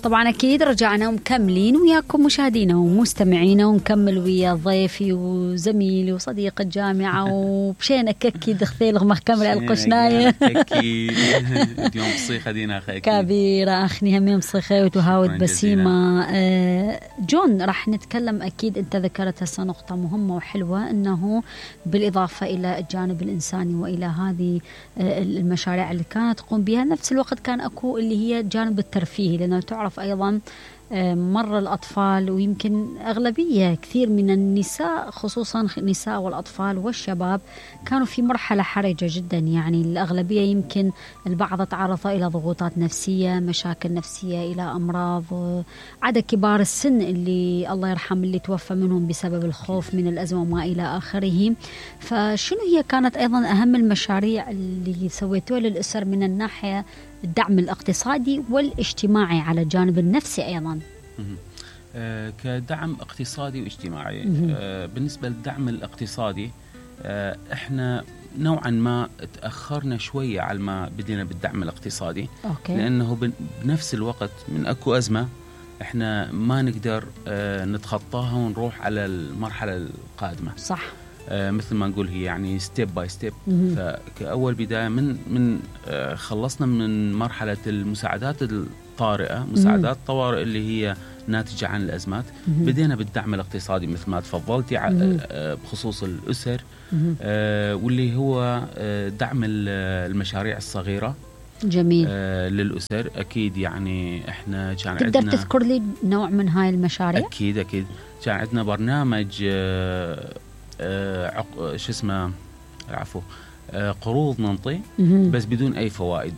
طبعا أكيد رجعنا مكملين وياكم مشاهدينا ومستمعينا، ونكمل ويا ضيفي وزميلي وصديق الجامعة وبشينا ككي دخثيل مكمل القشناية ككي اليوم بصيخة دينا أخي كبيرة أخني همين بصيخة وتهاود بسيمة. جون راح نتكلم أكيد، أنت ذكرت هسه نقطة مهمة وحلوة، أنه بالإضافة إلى الجانب الإنساني وإلى هذه المشاريع اللي كانت تقوم بها، نفس الوقت كان أكو اللي هي الجانب الترفيهي، لأنه تعرف أيضا مر الأطفال ويمكن أغلبية كثير من النساء، خصوصا النساء والأطفال والشباب، كانوا في مرحلة حرجة جدا. يعني الأغلبية يمكن البعض تعرض إلى ضغوطات نفسية، مشاكل نفسية، إلى أمراض، عدا كبار السن اللي الله يرحم اللي توفى منهم بسبب الخوف من الأزمة وما إلى آخره. فشنو هي كانت أيضا أهم المشاريع اللي سويتوها للأسر من الناحية الدعم الاقتصادي والاجتماعي على الجانب النفسي أيضا؟ كدعم اقتصادي واجتماعي. بالنسبة للدعم الاقتصادي، احنا نوعا ما تأخرنا شوية على ما بدينا بالدعم الاقتصادي. أوكي. لأنه بنفس الوقت من أكو أزمة احنا ما نقدر نتخطاها ونروح على المرحلة القادمة. صح. مثل ما نقول هي يعني ستيب باي ستيب. فكأول بداية من خلصنا من مرحلة المساعدات الطارئة، مساعدات طوارئ اللي هي ناتجة عن الأزمات، بدينا بالدعم الاقتصادي مثل ما تفضلتي بخصوص الأسر، واللي هو دعم المشاريع الصغيرة. جميل. للأسر. أكيد يعني إحنا كان تقدر عندنا، تذكر لي نوع من هاي المشاريع؟ أكيد كان عندنا برنامج قروض ننطي بس بدون أي فوائد.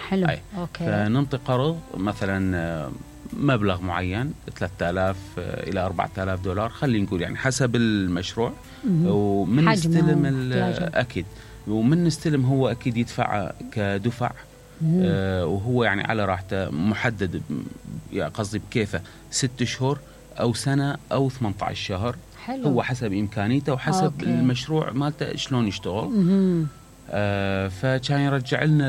حلو. أوكي. فننطي قرض مثلا مبلغ معين 3000 إلى 4000 دولار، خلينا نقول يعني حسب المشروع، ومن نستلم أكيد، ومن نستلم هو أكيد يدفع كدفع، وهو يعني على راحته محدد، قصدي بكيفه 6 شهور أو سنة أو 18 شهر. حلو. هو حسب إمكانيته وحسب أوكي. المشروع مالته شلون يشتغل. فكان يرجع لنا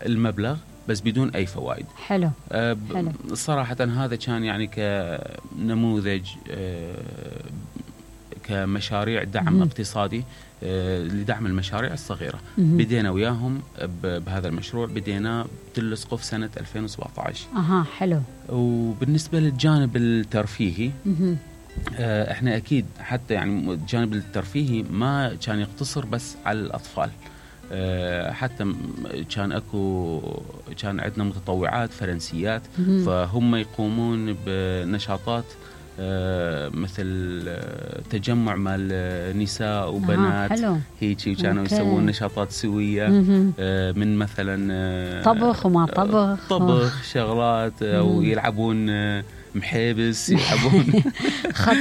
المبلغ بس بدون أي فوائد. حلو. صراحة هذا كان يعني كنموذج كمشاريع دعم اقتصادي لدعم المشاريع الصغيرة. بدينا وياهم بهذا المشروع، بدينا بتلصقه في سنة 2017. حلو. وبالنسبة للجانب الترفيهي، احنا اكيد حتى يعني الجانب الترفيهي ما كان يقتصر بس على الاطفال، حتى كان عندنا متطوعات فرنسيات، فهم يقومون بنشاطات مثل تجمع مال نساء وبنات هيك، وكانوا يسوون نشاطات سوية، من مثلا طبخ وما طبخ شغلات، او يلعبون محابس، يلعبون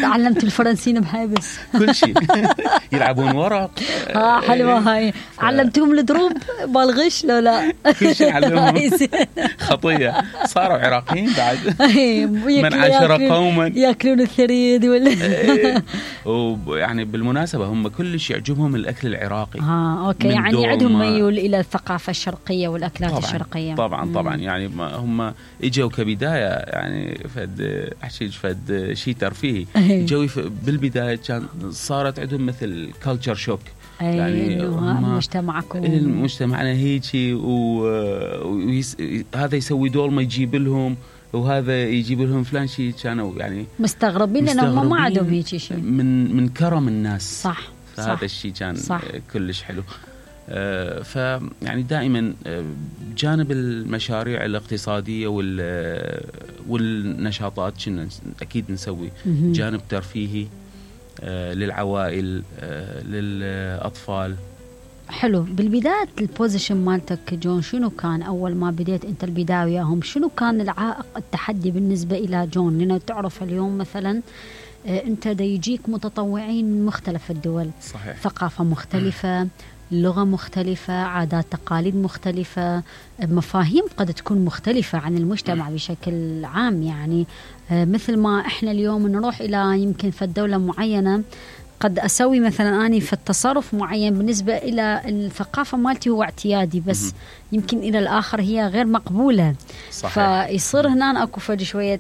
علمت الفرنسيين محابس كل شيء، يلعبون ورق. حلوة هاي. علمتهم الدروب بالغش لو لا؟ كل شيء علمهم. خطية. صاروا عراقيين بعد. من عاشر قوما ياكلون الثريد ويعني بالمناسبة هم كلش يعجبهم الأكل العراقي. أوكي. يعني عندهم ميول إلى الثقافة الشرقية والأكلات طبعًا الشرقية. طبعا يعني هم إجوا كبداية يعني فد شيء ترفيهي. جو بالبداية كان صارت عندهم مثل كلتشر شوك، يعني مجتمعنا هيجي، وهذا يسوي دول ما يجيب لهم، وهذا يجيب لهم فلان شيء، كانوا يعني مستغربين لأنهم ما عندهم هيك شيء من كرم الناس. صح. فهذا الشيء كان كلش حلو. فيعني دائما جانب المشاريع الاقتصادية والنشاطات كنا أكيد نسوي جانب ترفيهي للعوائل، للأطفال. حلو. بالبداية البوزيشن مالتك جون شنو كان أول ما بديت أنت البداية وياهم؟ شنو كان العائق التحدي بالنسبة إلى جون؟ لأنه تعرف اليوم مثلا أنت دا يجيك متطوعين من مختلف الدول. صحيح. ثقافة مختلفة، لغة مختلفة، عادات تقاليد مختلفة، مفاهيم قد تكون مختلفة عن المجتمع بشكل عام. يعني مثل ما إحنا اليوم نروح إلى يمكن في الدولة معينة قد أسوي مثلا أني في التصرف معين بالنسبة إلى الثقافة مالتي هو اعتيادي، بس يمكن إلى الآخر هي غير مقبولة. صحيح. فيصير هنا أكو فد شوية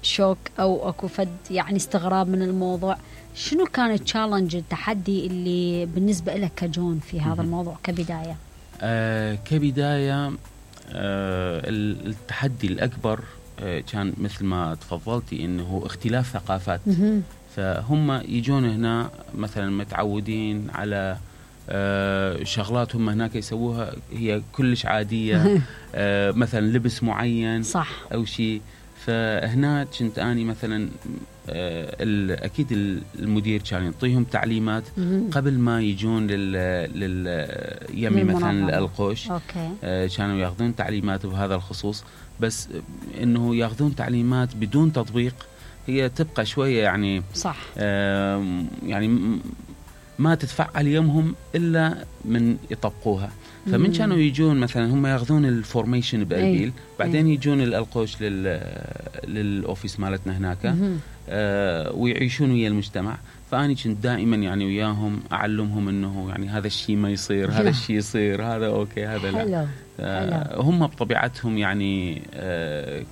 شوك أو أكو فد يعني استغراب من الموضوع. شنو كان التشالنج التحدي اللي بالنسبة لك كجون في هذا الموضوع كبداية؟ كبداية التحدي الأكبر كان مثل ما تفضلتي إنه اختلاف ثقافات. فهم يجون هنا مثلا متعودين على شغلات هم هناك يسووها هي كلش عادية. مثلا لبس معين صح أو شيء. فهنا كنت أني مثلا أكيد المدير كان يعطيهم تعليمات قبل ما يجون يمي مثلا القوش. كانوا ياخذون تعليمات بهذا الخصوص، بس إنه ياخذون تعليمات بدون تطبيق هي تبقى شوية يعني صح. يعني ما تتفعل يومهم إلا من يطبقوها. فمن كانوا يجون مثلا هم ياخذون الفورميشن بأربيل، بعدين يجون القوش للأوفيس مالتنا هناك ويعيشون ويا المجتمع. فأني كنت دائما يعني وياهم أعلمهم إنه يعني هذا الشيء ما يصير، هذا الشيء يصير، هذا أوكي، هذا لا. هم بطبيعتهم يعني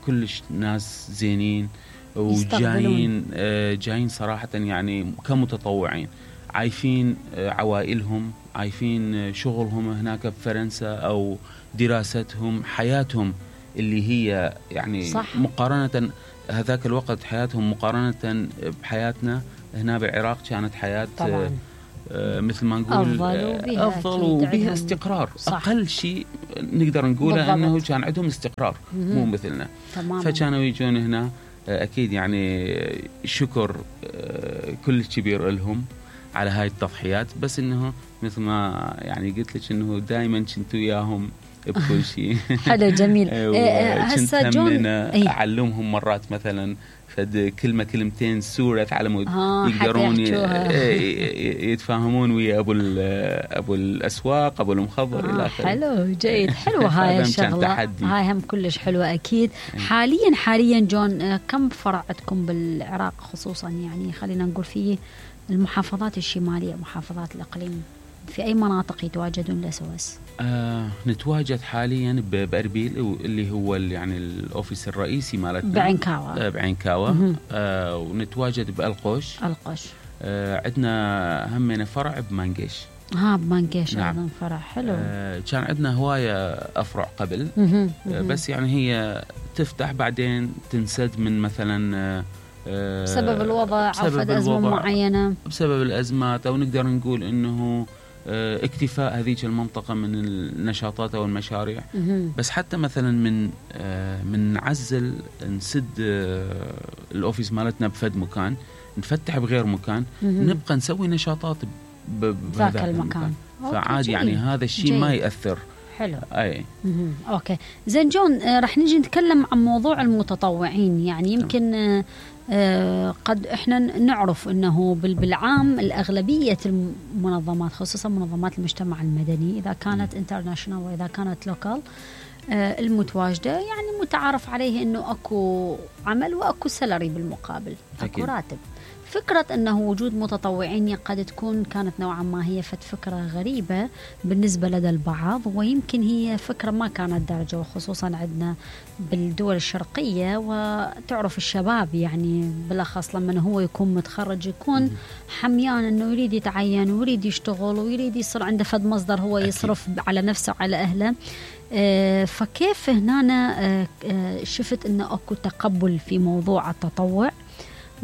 كلش ناس زينين وجايين صراحة يعني كمتطوعين، عايفين عوائلهم، عايفين شغلهم هناك بفرنسا أو دراستهم، حياتهم اللي هي يعني صح. مقارنة هذاك الوقت حياتهم مقارنة بحياتنا هنا بالعراق كانت حياة طبعاً. مثل ما نقول أفضل وبها استقرار. صح. أقل شيء نقدر نقوله أنه كان عندهم استقرار مو مثلنا. فكانوا يجون هنا أكيد يعني شكر كل كبير لهم على هاي التضحيات، بس إنه مثل ما يعني قلت لك إنه دائما كنت وياهم بكل شيء. حلو جميل. هسه جون أعلمهم مرات مثلا فد كلمتين سورة على مود يقدرون يتفاهمون ويا أبو الأسواق، أبو المخضر إلى آخره. حلو جيد. حلو هاي الشغلة، هاي هم كلش حلوة أكيد. حاليا جون كم فرع عندكم بالعراق خصوصا، يعني خلينا نقول في المحافظات الشمالية، محافظات الإقليم، في أي مناطق يتواجدون الأسواس؟ نتواجد حاليا بأربيل اللي هو يعني الأوفيس الرئيسي مالتنا بعينكاوة. ونتواجد بألقوش. عندنا همنا فرع بمانقيش. بمانقيش. نعم. أيضا فرع حلو. كان عندنا هواية أفرع قبل. بس يعني هي تفتح بعدين تنسد من مثلا بسبب الوضع أو أزمة معينة، بسبب الأزمات، أو نقدر نقول إنه اكتفاء هذيك المنطقة من النشاطات أو المشاريع. بس حتى مثلا من نعزل نسد الأوفيس مالتنا بفد مكان، نفتح بغير مكان، نبقى نسوي نشاطات بهذا المكان. فعادي يعني هذا الشيء ما يأثر. حلو. أوكي زين جون، رح نيجي نتكلم عن موضوع المتطوعين. يعني يمكن قد احنا نعرف انه بالعام الاغلبيه المنظمات، خصوصا منظمات المجتمع المدني، اذا كانت انترناشونال واذا كانت لوكال، المتواجده يعني متعارف عليه انه اكو عمل واكو سالري بالمقابل، اكو راتب. فكرة أنه وجود متطوعين قد تكون كانت نوعا ما هي فكرة غريبة بالنسبة لدى البعض، ويمكن هي فكرة ما كانت دارجة، وخصوصا عندنا بالدول الشرقية. وتعرف الشباب يعني بالأخص لما هو يكون متخرج يكون حميان أنه يريد يتعين ويريد يشتغل ويريد يصير عنده فد مصدر هو يصرف على نفسه وعلى أهله. فكيف هنا شفت أنه أكو تقبل في موضوع التطوع،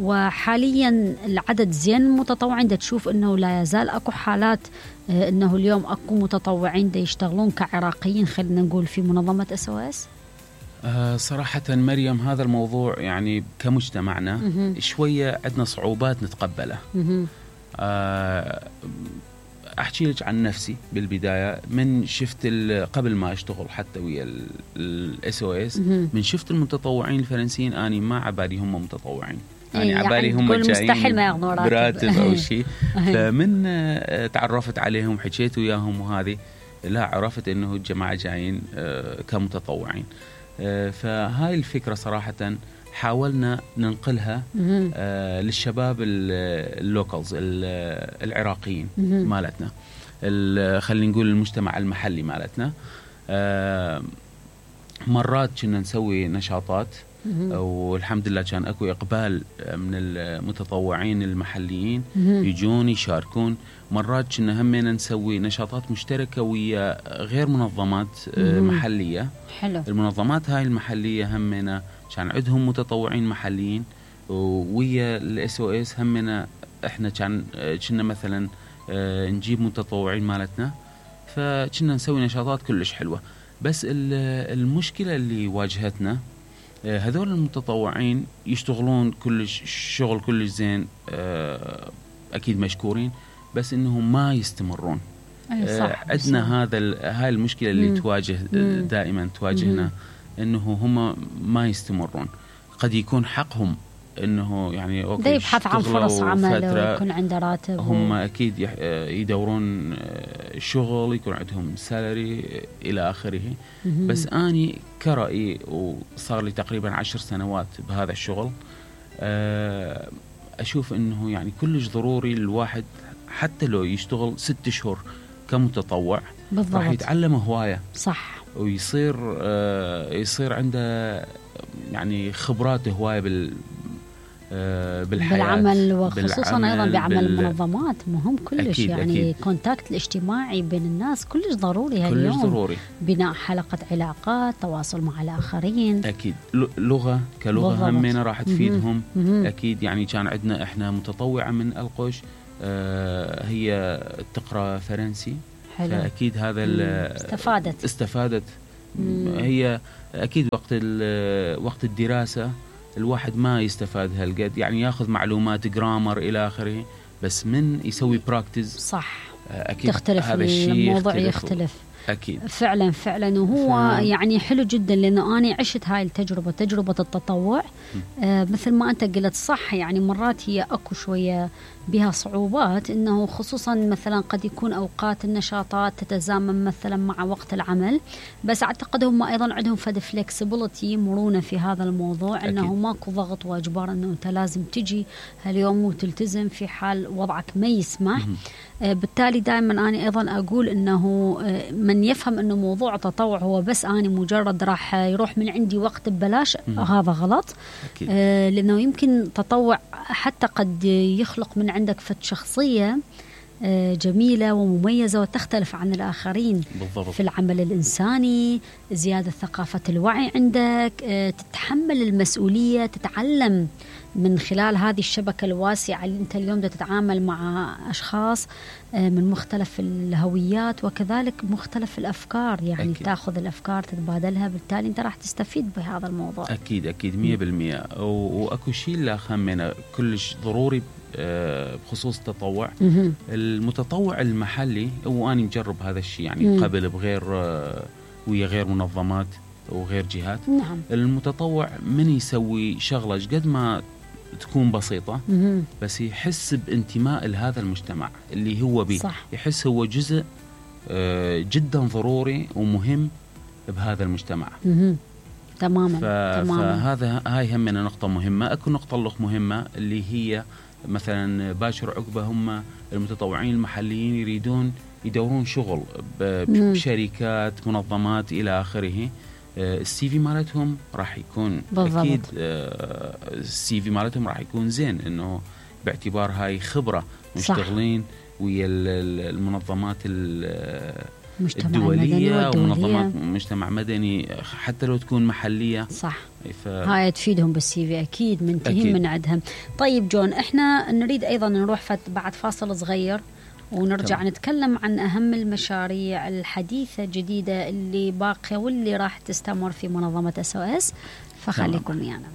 وحاليا العدد زين متطوعين؟ دا تشوف انه لا يزال اكو حالات انه اليوم اكو متطوعين دا يشتغلون كعراقيين خلينا نقول في منظمة SOS؟ صراحة مريم هذا الموضوع يعني كمجتمعنا شوية عندنا صعوبات نتقبله. أحكي لك عن نفسي بالبداية. من شفت قبل ما أشتغل حتى ويا SOS، من شفت المتطوعين الفرنسيين أنا ما عبالي هم متطوعين، يعني عبالي هم جايين براتب أو شيء. فمن تعرفت عليهم حكيت وياهم وهذه لا عرفت إنه الجماعة جايين كمتطوعين. فهاي الفكرة صراحة حاولنا ننقلها للشباب اللوكالز العراقيين مالتنا، خلينا نقول المجتمع المحلي مالتنا. مرات كنا نسوي نشاطات والحمد لله كان اكو اقبال من المتطوعين المحليين يجون يشاركون. مرات كنا همنا نسوي نشاطات مشتركه ويا غير منظمات محليه. حلو. المنظمات هاي المحليه همنا كان عندهم متطوعين محليين، ويا الSOS همنا احنا كنا مثلا نجيب متطوعين مالتنا، فكنا نسوي نشاطات كلش حلوه. بس المشكله اللي واجهتنا هذول المتطوعين يشتغلون كلش شغل كلش زين، اكيد مشكورين، بس انهم ما يستمرون. عندنا هاي المشكله اللي تواجه دائما تواجهنا، انه هم ما يستمرون. قد يكون حقهم انه يعني اوكي يبحث عن فرص عمل ويكون عنده راتب، هم اكيد يدورون شغل يكون عندهم سالري الى اخره. بس اني كرأيي وصار لي تقريبا 10 سنوات بهذا الشغل، اشوف انه يعني كلش ضروري الواحد حتى لو يشتغل 6 شهور كمتطوع بالضبط راح يتعلم هوايه صح، ويصير عنده يعني خبرات هوايه بالحياة بالعمل، وخصوصا أيضا بعمل المنظمات مهم كلش. أكيد يعني الكونتاكت الاجتماعي بين الناس كلش ضروري هاليوم، كلش ضروري. بناء حلقة علاقات، تواصل مع الآخرين. أكيد لغة كلغة همنا راح تفيدهم. أكيد يعني كان عندنا إحنا متطوعة من القش هي تقرأ فرنسي. حلو. فأكيد هذا استفادت هي أكيد وقت الدراسة الواحد ما يستفاد هالقد، يعني ياخذ معلومات جرامر الى اخره، بس من يسوي براكتس صح اكيد تختلف هذا الشيء الموضوع يختلف اكيد فعلا. وهو يعني حلو جدا، لانه انا عشت هاي التجربه، تجربه التطوع. مثل ما انت قلت صح، يعني مرات هي اكو شويه بها صعوبات، انه خصوصا مثلا قد يكون اوقات النشاطات تتزامن مثلا مع وقت العمل، بس اعتقد هم ايضا عندهم فد فلكسبيليتي، مرونه في هذا الموضوع. أكيد. انه ماكو ضغط واجبار انه انت لازم تجي هاليوم وتلتزم في حال وضعك ما يسمح. بالتالي دائما انا ايضا اقول انه من يفهم انه موضوع التطوع هو بس انا مجرد راح يروح من عندي وقت ببلاش، هذا غلط. لانه يمكن تطوع حتى قد يخلق من عندك فد شخصية جميلة ومميزة وتختلف عن الآخرين. بالضبط. في العمل الإنساني، زيادة ثقافة الوعي عندك، تتحمل المسؤولية، تتعلم من خلال هذه الشبكة الواسعة اللي أنت اليوم تتعامل مع أشخاص من مختلف الهويات وكذلك مختلف الأفكار، يعني أكيد. تأخذ الأفكار تتبادلها، بالتالي أنت راح تستفيد بهذا الموضوع. أكيد 100%. وأكو شيء لا خمنا كلش ضروري بخصوص التطوع. المتطوع المحلي، وأنا مجرب هذا الشيء يعني قبل بغير ويا غير منظمات وغير جهات. نعم. المتطوع من يسوي شغلة قد ما تكون بسيطة، بس يحس بانتماء لهذا المجتمع اللي هو بيه. صح. يحس هو جزء جدا ضروري ومهم بهذا المجتمع. تماما. فهذا هاي همنا نقطة مهمة. أكو نقطة مهمة اللي هي مثلا باشر عقبة هم المتطوعين المحليين يريدون يدورون شغل بشركات منظمات إلى آخره. السي في مالتهم راح يكون بالضبط. أكيد السي في مالتهم راح يكون زين، إنه باعتبار هاي خبرة مشتغلين ويا المنظمات الدولية ومنظمات مجتمع مدني، حتى لو تكون محلية. صح. هاي تفيدهم بالسي في أكيد، منتهين من عندهم. طيب جون، احنا نريد أيضا نروح بعد فاصل صغير ونرجع نتكلم عن أهم المشاريع الحديثة الجديدة اللي باقية واللي راح تستمر في منظمة SOS، فخليكم ويانا.